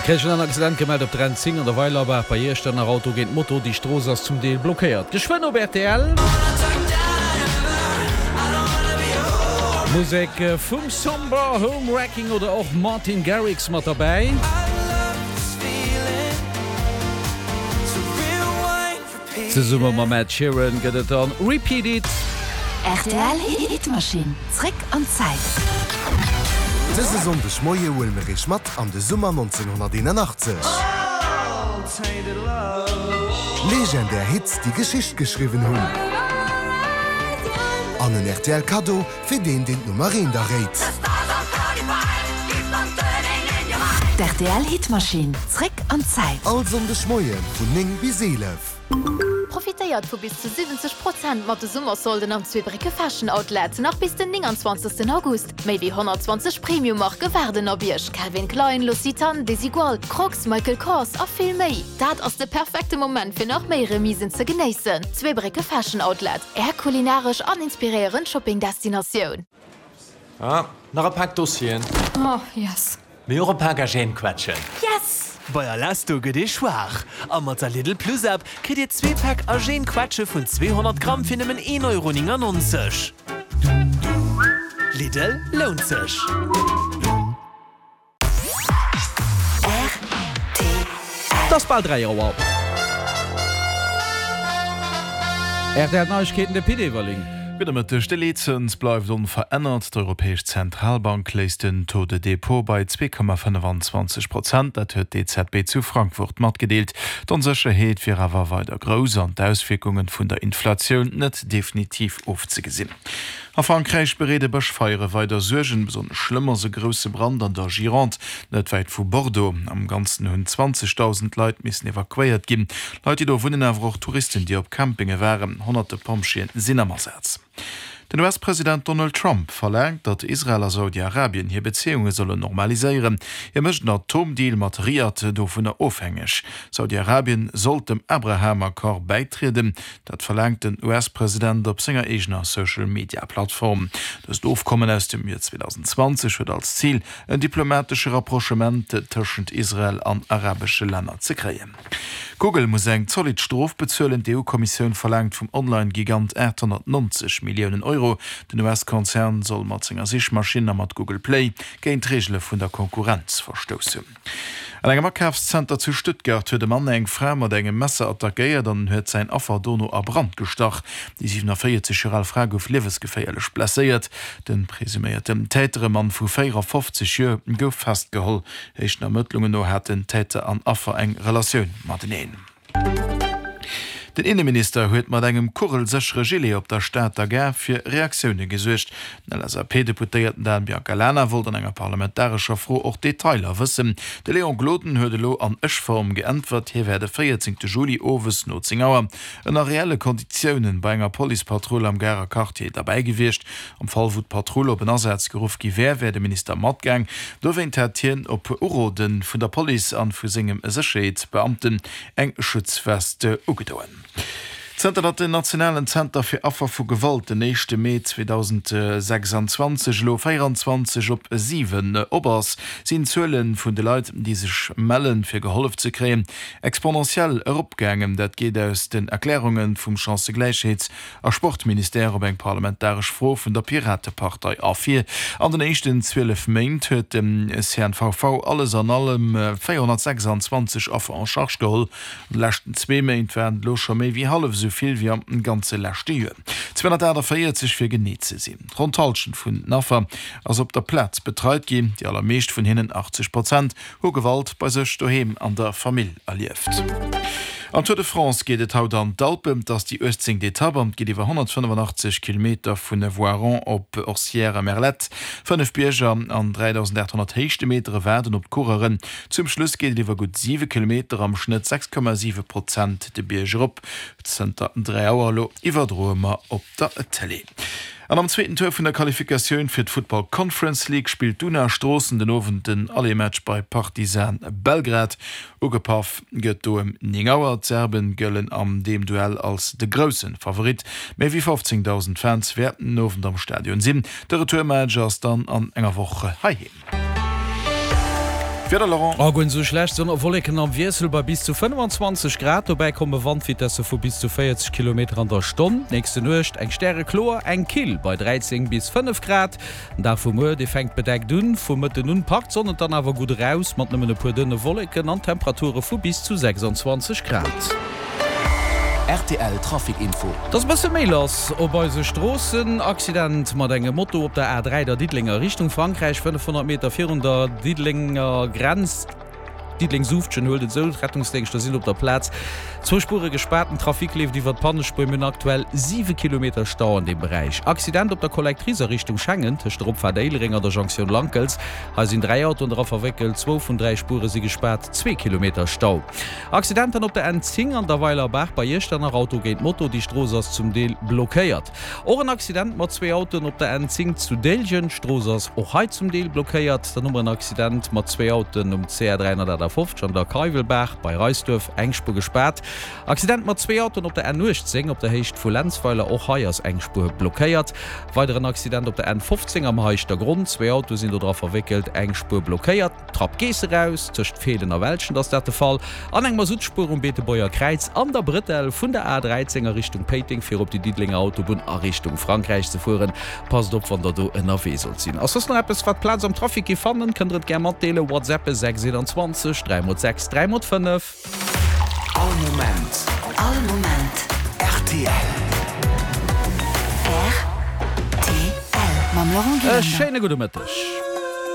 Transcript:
Kréichen en Accident gemellt op der N10 an der Weilerbaach bei Iechternach. Auto géint Moto, déi Strooss ass zum Deel blockéiert. Geschwënn op rtl. Musek vum Somber, Home Wrecking oder och Martin Garrix mat derbäi. Zesumme mam Ed Sheeran gëtt et dann Repeat It. Rtl Hitmachine, zréck an d'Zäit. Dëse Sonndeg Moie huele mir iech mat an de Summer 1981. Legendär Hits, déi Geschicht geschriwwen hunn. An en rtl Kaddo fir deen, deen d'Nummer eent erréit. D'RTL Hitmachine, zréck an d'Zäit. All Sonndeg Moie vun 9 bis 11. Profitéiert vu bis zu 70 Prozent mat de Summersolden am Zweebrécke Fashion Outlet, nach bis den 29 August. Méi wéi 120 Premium-Marke waarden op Iech, Calvin Klein, L'Occitane, Desigual, Crocs, Michael Kors a vill méi. Dat ass de perfekte Moment fir nach méi Remisen ze genéissen. Zweebrécke Fashion Outlet, Är kulinaresch an inspiréierend Shopping-Destinatioun. Ah, nach e Pak Dossieren. Oh, yes. Mee och e Pak Agène-Quetschen. Yes! Bei Alesto gëtt ee schwaach a mat der Lidl Plus App kritt dir zwee Päck Agène Quetsche vun 200 Gramm fir nëmmen 1,99 Euro. Lidl, lount sech! Et ass bal 3 Auer. Rtl Neiegkeeten, de Pit Everling. Gudde Mëtteg. De Leetzëns bleift onverännert. D'Europäesch Zentralbank léisst den Taux de dépôt bei 2,25 Prozent. Dat huet d'EZB zu Frankfurt matgedeelt. D'Onsécherheet wier awer weider grouss an d'Auswierkunge vun der Inflatioun net definitiv ofzegesinn. A Frankräich bereede Bëschfeiere weider Suergen. Besonnesch schlëmm ass e grousse Brand an der Gironde, net wäit vu Bordeaux. Am Ganzen hunn 20.000 Leit missen evakuéiert ginn. Leit, déi do wunnen, awer och Touristen, déi op Campinge waren. Honnerte Pompjeeën sinn am Asaz. Den US-President Donald Trump verlaangt, datt Israel a Saudi-Arabien hir Bezéiunge sollen normaliséieren. Hie mécht en Atomdeal mat Riad dovunner ofhängeg. Saudi-Arabien sollt dem Abraham-Accord bäitrieden. Dat verlaangt den US-President op senger eegener Social-Media-Plattform. Dëst Ofkommen aus dem Joer 2020 huet als Zil, en diplomatesche Rapprochement tëschent Israel an arabesche Länner ze kréien. Google muss eng zolidd Strof bezuelen. D'EU-Kommissioun verlaangt vum Online-Gigant 890 Milliounen Euro. Den US-Konzern soll mat senger Sichmaschinn a mat Google Play géint d'Reegele vun der Konkurrenz verstouss hunn. An engem Akafszenter zu Stuttgart huet e Mann eng Fra mat engem Messer attackéiert an huet säin Affer dono a Brand gestach. Déi 47 Joer al Fra gouf liewesgeféierlech blesséiert. De presuméierten Täter, e Mann vu 54 Joer, gouf festgeholl. Éischten Ermëttlungen no haten Täter an Affer eng Relatioun mateneen. Den Inneminister huet mat engem kugelséchere Gilet op der Stater Gare fir Reaktioune gesuergt. Den LSAP-Deputéierten Dan Biancalana wollt an enger parlamentarescher Fro och Detailer wëssen. De Léon Gloden huet elo an Ech-Form geäntwert, hie wär de 14 Juli owes no 10 Auer ënner reelle Konditiounen bei enger Policepatrull am Garer Quartier derbäi gewiescht. Am Fall wou d'Patrull op en Asaz geruff gi wär, wär de Minister matgaang. Dowéint hätt hien op Urode vun der Police an vu sengem Sécherheetsbeamten eng Schutzwest ugedoen. Zënter datt den Nationalen Zenter fir Affer vu Gewalt den éischte Mee 2026 elo 24 op 7 op ass, sinn d'Zuele vun de Leit, déi sech mellen, fir gehollef ze kréien, exponentiell eropgaangen. Dat geet aus den Erklärunge vum Chancëgläichheets a Sportministère op eng parlamentaresch Fro vun der Piratepartei ervir. An den éischten 12 Méint huet de CNVV alles an allem 426 Affer en charge geholl. An de leschten zwee Méint waren et elo scho méi wéi hallef esou vill wéi am ganze leschte Joer, 248 fir genee ze sinn. Ronn d'Hallschent vun den Affer ass op der Plaz betreit ginn, déi allermeescht vun hinnen, 80 Prozent, hu Gewalt bei sech doheem an der Famill erlieft. Am Tour de France geet et haut an d'Alpen. Et ass déi 18. Etapp an et geet iwwer 185 Kilometer vun Voiron op Orcières-Merlette. Fënnef Bierger an 3.800 Héichtemetere waarden op d'Coureuren. Zum Schluss geet et iwwer gutt 7 Kilometer, am Schnëtt 6,7 Prozent de Bierg erop. Zënter 3 Auer elo iwwerdroe mer op der Tëlee. An am zweeten Tour vun der Qualifikatioun fir d'Football Conference League spillt d'Una Stroossen den Owend den Aller-Match bei Partizan Belgrad. Ugepaff gëtt do ëm 9 Auer. D'Serben gëllen an deem Duell als de grousse Favorit. Méi wéi 15.000 Fans wäerten den Owend am Stadion sinn. De Retourmatch ass dann an enger Woch heiheem. D'Wieder, Laurent? Oh, guer net esou schlecht, Sonn a Wolleken am Wiessel bei bis zu 25 Grad. Dobäi komme Wandvitesse vu bis zu 40 Kilometer an der Stonn. D'nächste Nuecht eng stärekloer, eng kill bei 13 bis 5 Grad. Den Dag vu muer, dee fänkt bedeckt un, vum Mëtten un packt d'Sonn et dann awer gutt eraus, mat nëmmen e puer dënne Wolleken an Temperature vu bis zu 26 Grad. Rtl Trafic Info. Et ass e bësse méi lass op eise Stroossen. Accident mat engem Moto op der A3 der Diddelenger Richtung Frankräich, 500 Meter virun der Diddelenger Grenz. Diddeleng-Suuftgen huelt et esou, D'Rettungsdéngschter sinn op der Plaz. Zwou Spuere gespaart, den Trafic leeft iwwer d'Pannespuer. Mir hunn aktuell 7 Kilometer Stau an deem Beräich. Accident op der Collectrice a Richtung Schengen, tëscht der Opfaart Éilereng an der Jonktioun Lankels. Hei sinn 3 Autoen dra verwéckelt, zwou vun 3 Spuere si gespaart, zwee Kilometer Stau. Accident dann op der N10 an der Weilerbaach bei Iechternach, Auto géint Moto, déi Strooss ass zum Deel blockéiert. Och en Accident mat zwee Autoen op der N10 zu Déiljen, d'Strooss ass och hei zum Deel blockéiert. Dann hu mer en Accident mat zwee Autoen um CR 358 an der Keiwelbaach bei Reisduerf, eng Spuer gespaart. Accident mat zwee Autoen op der N18 op der Héicht vu Lenzweiler, och hei ass eng Spuer blockéiert. Weideren Accident op der N15 am Heischtergronn, zwee Autoe sinn do dra verwéckelt, eng Spuer blockéiert. D'Trapp Geess eraus, tëscht Feelen a Welschent ass dat de Fall, an eng Masuttspuer um Beetebuerger Kräiz an der Brëtell vun der A13 a Richtung Péiteng fir op déi Diddelenger Autobunn a Richtung Frankräich ze fueren. Passt op wann der do ënnerwee sollt sinn. Ass soss nach eppes wat Plaz am Trafic gi fannen, kënnt der et gär matdeelen. WhatsAppe 6 21 3 mol 6 3 mol 5. All Moment. All Moment. Rtl. Rtl. Mam Laurent E Gillander. schéine gudde Mëtteg.